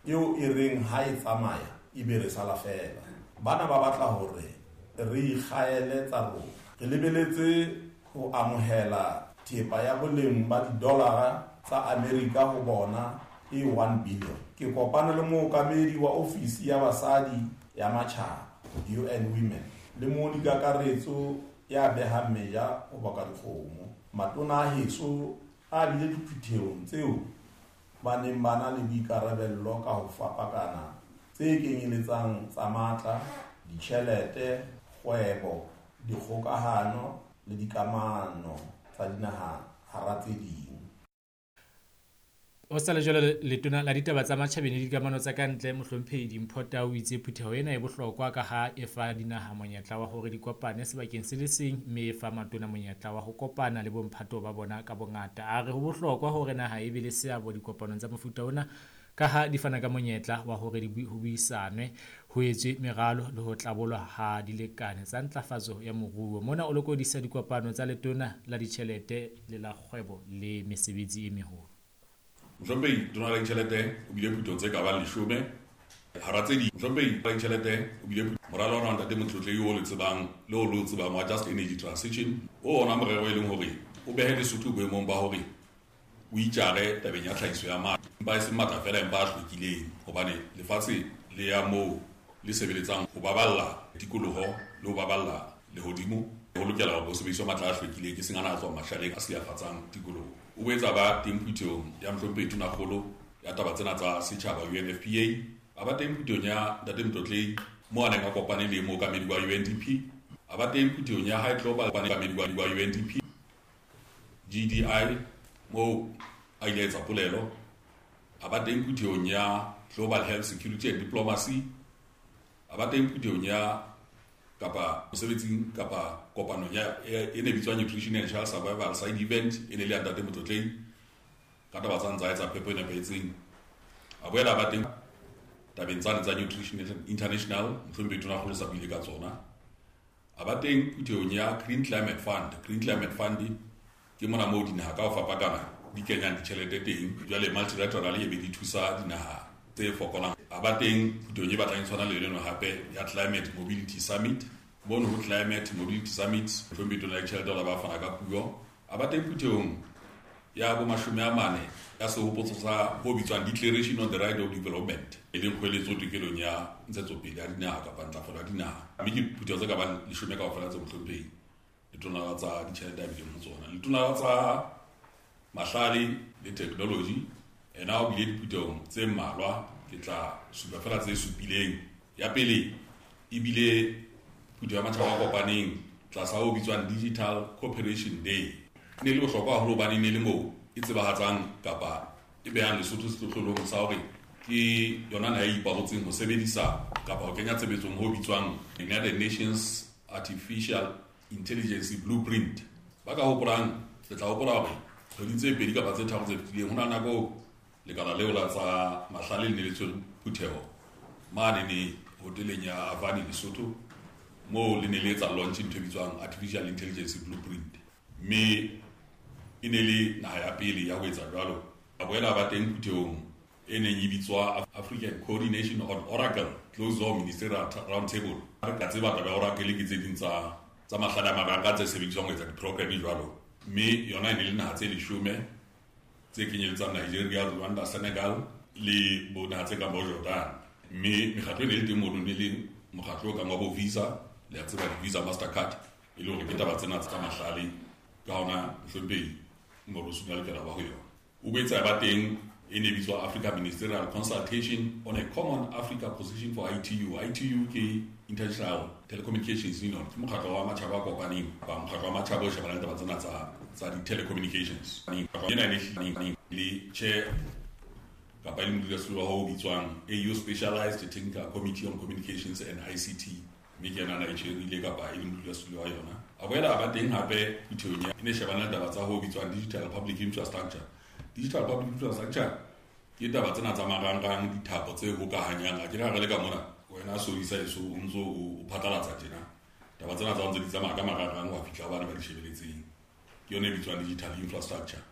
Eo e reng ha e tsamaya ebe re sala feela. Bana ba batla hore re ikgaele tsa rona. Re lebeletse ho amohela thepa ya boleng ba didolara tsa Amerika ho bona e 1 billion. Ke kopane le mookamedi wa ofisi ya basadi ya matjhaba, UN Women, le moodi-kakaretso ya behang meja ho baka dikgomo. Matona a heso a bile diphuthehong tseo ba neng ba na le boikarabello ka ho fapakana tse kenyeletsang tsa matla, ditjhelete, kgwebo, dikgokahano le dikamano tsa dinaha hara tse ding. Ho sa le jwalo, Letona la Ditaba tsa Matjhabeng le Dikamano tsa ka Ntle, Mohlomphehi Dimpho Tau o itse phutheho ena e bohlokwa ka ha e fa dinaha monyetla wa hore di kopane sebakeng se le seng mme e fa matona monyetla wa ho kopana le bomphato ba bona ka bongata. A re ho bohlokwa hore naha e be le seabo dikopanong tsa mofuta ona ka ha di fana ka monyetla wa hore ho buisanwe, ho etswe meralo le ho tlabolwa ha dilekane tsa ntlafatso ya moruo. Mona o lokodisa dikopano tsa Letona la Ditjhelete le la Kgwebo le Mesebetsi e Meholo. Mohlomphehi Tona la Ditjhelete o bile phuthong tse ka bang leshome hara tse ding. Mohlomphehi la Ditjhelete o bile moralo ona wa Ntate Motlotlehi o le tsebang le o le o tsebang wa Just Energy Transition, o ona morero e leng hore o behe Lesotho boemong ba hore o itjare tabeng ya tlhahiso ya matla, empa e seng matla feela empa a hlwekileng, hobane lefatshe le ya moo le sebeletsang ho baballa tikoloho le ho baballa lehodimo, ho lokela hore ho sebediswe matla a hlwekileng, e seng ana a tswang mashaleng a silafatsang tikoloho. O boetse a ba teng phuthehong ya Mohlomphehi Tonakgolo ya taba tsena tsa setjhaba UNFPA, a ba teng phuthehong ya Ntate Motlotlei moo a neng a kopane le mookamedi wa UNDP, a ba teng phuthehong ya High Global mookamedi wa UNDP GDI moo a ile a etsa polelo, a ba teng phuthehong ya Global Health Security and Diplomacy, a ba teng phuthehong ya kapa mosebetsing kapa kopanong ya e ne bitswang Nutrition and Child Survival Side Event, e ne le ya Ntate Motlotlei ka taba tsa ntsa etsa phepo e nepahetseng. A boela ba teng tabeng tsane tsa Nutrition International, Mohlomphehi Tonakgolo sa buile ka tsona. A ba teng phuthehong ya Green Climate Fund. Green Climate Fund ke mona moo dinaha ka ho fapakana di kenyang ditjhelete teng, jwale multilateral e be di thusa dinaha tse fokolang. A ba teng phuthehong e batlang e tshwana le yona hape ya Climate Mobility Summit. Mono ho Climate Mobility Summit, Mohlomphehi Tona ya Ditjhelete o la ba fana ka puo. A ba teng phuthehong ya bo 40 ya sehopotso sa ho bitswang Declaration on the Right of Development, e leng kgoeletso tokelong ya ntshetsopele ya dinaha kapa ntlafalo ya dinaha. Mme ke phutheho tse ka bang 10 kaofela tse Mohlomphehi Letona la tsa ditjhelete a bileng ho tsona. Letona la tsa mahlale le technology ena o bile diphuthehong tse mmalwa, ke tla supa fela tse supileng. Ya pele e bile phutheho ya matjhaba a kopaneng tlasa ho bitswang Digital Cooperation Day. E ne le bohlokwa haholo hobane e ne le moo e tsebahatsang kapa e behang Lesotho sehlohlolong sa hore ke yona naha e ipabotseng ho sebedisa kapa ho kenya tshebetsong ho bitswang United Nations Artificial Intelligence Blueprint. Ba ka hopolang, le tla hopola hore kgwedi tse pedi kapa tse tharo tse fetileng ho na nako lekala leo la tsa mahlale le ne le tshwere phutheho mane ne hoteleng ya Avani Lesotho, moo le ne le etsa launch ntho e bitswang Artificial Intelligence Blueprint, mme e ne le naha ya pele ya ho etsa jwalo. A boela ba teng phuthehong e neng e bitswa African Coordination on Oracle Closed Door Ministerial Roundtable. Re ka tseba taba ya Oracle ke tse ding tsa mahlale a marangrang tse sebediswang ho etsa di-program jwalo, mme yona e ne le naha tse 10 tse kenyeletsang Nigeria, Rwanda, Senegal le bo naha tse kang bo Jordan. Mme mekgatlo e ne le teng mono ne le mokgatlo o kang wa bo Visa, le a tseba di-Visa, Mastercard, e le hore ke taba tsena tsa mahlale. Ka hona Mohlomphehi Morusu ne a lokela ba ho yona. O boetse a ba teng e ne bitswa Africa Ministerial Consultation on a Common Africa Position for ITU. ITU ke International Telecommunications Union, ke mokgatlo wa matjhaba a kopaneng kapa mokgatlo wa matjhaba o shebanang le taba tsena tsa di-telecommunications. Ena e ne le chair kapa e le modulasetulo wa ho bitswang AU Specialized Technical Committee on Communications and ICT, mme ke yena a na e tjherile kapa e le modulasetulo wa yona. A boela a ba teng hape phuthehong ya e ne shebana le taba tsa ho bitswang Digital Public Infrastructure. Digital Public Infrastructure ke taba tsena tsa marangrang, dithapo tse hokahanyang. A ke re ha re le ka mona, wena Sodisa eso o ntso o phatlalatsa tjena, taba tsena tsa ntse di tsamaya ka marangrang ho fihla bana ba di shebeletseng. Ke yona e bitswang digital infrastructure,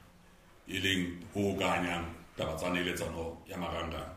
e leng ho hokahanyang taba tsa neeletsano ya marangrang.